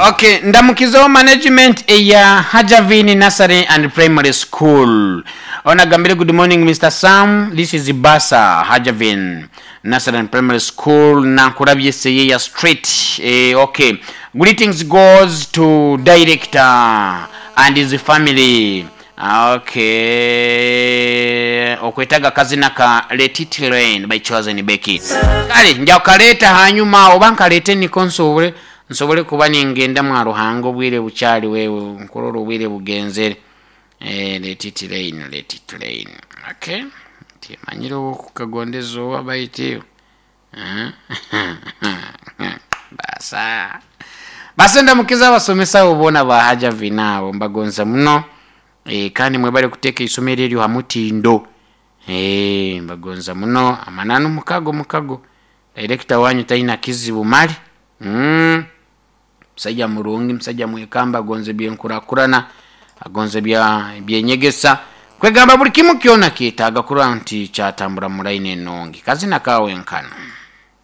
Okay, ndamukizeho management eya Hajavini Nursery and Primary School. Onagambire good morning Mr. Sam, this is Basa Hajavin Nursery and Primary School Nankurabye Seyeya Street. Okay. Greetings goes to director and his family. Okay. Okwetaga kazina ka Let It Rain by Chosen Becky. Kale nja kukaleeta hanyuma oba nkaleete niko nsobole nsobole kuba ningenda mwa Ruhanga obwire bukyali wewe nkurora obwire bugenzere. Let it rain, let it rain. Okay. Timanyire okukagondeza oba baitu. Basa. Basa ndamukiza abasomesa abo boona ba Hajavina abo mbagonza muno. Kandi mwebale kuteeka eisomero eryo ha mutindo. Mbagonza muno. Amananu mukago mukago. Director wanyu talina kizibu mali. Musaija murungi, musaija mwekamba agonza ebyenkurakurana, agonza ebyenyegesa. Kwegamba buli kimu kyona kyetaaga kurora nti kyatambura mu line enungi. Kazina kawe nkano.